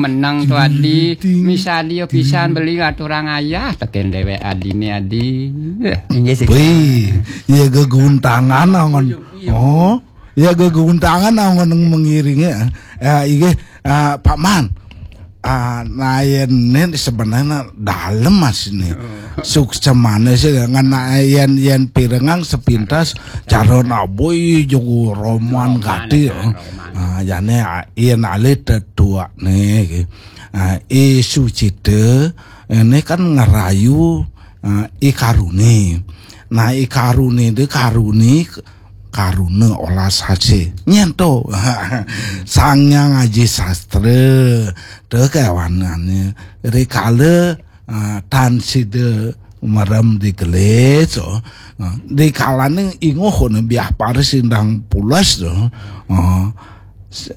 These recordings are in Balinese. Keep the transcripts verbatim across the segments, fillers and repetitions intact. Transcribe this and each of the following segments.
Menang to adi, misadi yo pisan beli aturang ayah, teken dewek adine adi. Inggih sih. Wih, ya geguntangan angon. Oh, ya geguntangan angon mengiringi. Ya, inggih, ah, Pak Man. Ah, nah, yen ini sebenarnya dalam mas ini. Suksemane sih dengan yen yen pirengang sepintas calon aboy jogo roman gati. Ah, jane yen alih tetuak nih. Ah, I Sucita ini kan ngerayu, ah, I Karuni. Nah, I Karuni itu Karuni karuna olah sase nyento. Sang Hyang Aji Sastra te kewanane rikala, ah, tan sida merem di gelis, oh. Ah, di kalane inguh ne biah paris indang pulas to. Ah, se-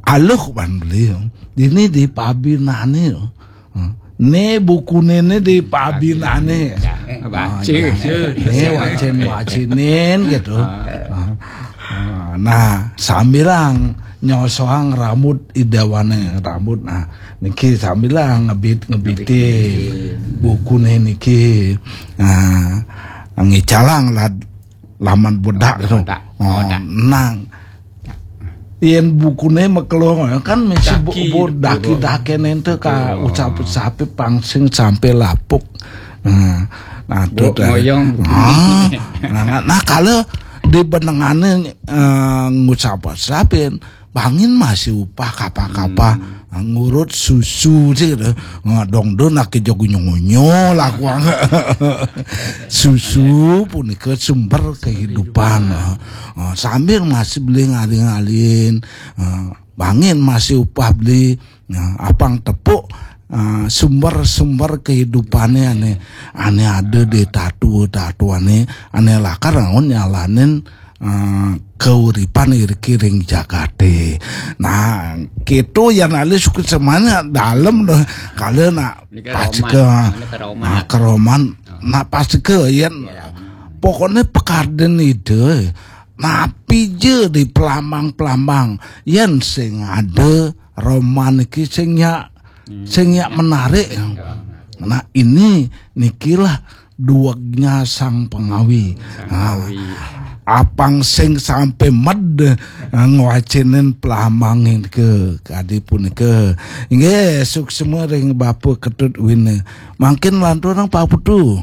aluh ban beli, oh. Ini di pabinane, oh. Ah, ne bukune ne di pabinane. Baca. Ini wacin wacinin gitu. Ah, nah, sambilang nyosoang rambut idawane rambut. Nah, niki sambilang ngebit ngebitin bukune niki. Nah, ngicalang lad laman bedak gitu. Bedak. Oh, Bedak. Nang yen bukune mekelong kan mesti bu- Daki, bu- daki-daki nente ka ucap-ucapi pangsing sampai lapuk. Nah, nah, itu Bu- moyong. Ah, nah, nah, nah, kalau di benengane, eh, ngucap-ucapin bangin masih upah kapa-kapa. Nah, ngurut susu sih gitu. Nah, dong do nak ke jogo nyonyo lah kuang. Susu punika sumber kehidupan. Nah, sambil masih beli ngaling-alin. Nah, bangin masih upah beli. Nah, apang tepuk, ah, sumber-sumber kehidupane ane ane ada di tatu tatuane ane lakar naon nyalanin, ah, keuripan iriki ring jagate. Nah, gitu yang alis suku semana dalam deh. Kalau nak Ini ke pas Roman. ke Ini ke Roman. Nah, ke Roman. Nah, pas ke yen pokoknya pekarden ide napi je di pelambang-pelambang yen sing ada Roman iki sing nyak sing nyak menarik. Nah, ini nikilah duegnya sang pengawi. Nah, apang sing sampai med, eh, ngwacinin pelambang ke kadi punika. Nggih, suksma ring Bapak Ketut Wina. Mangkin lanturang Pak Putu.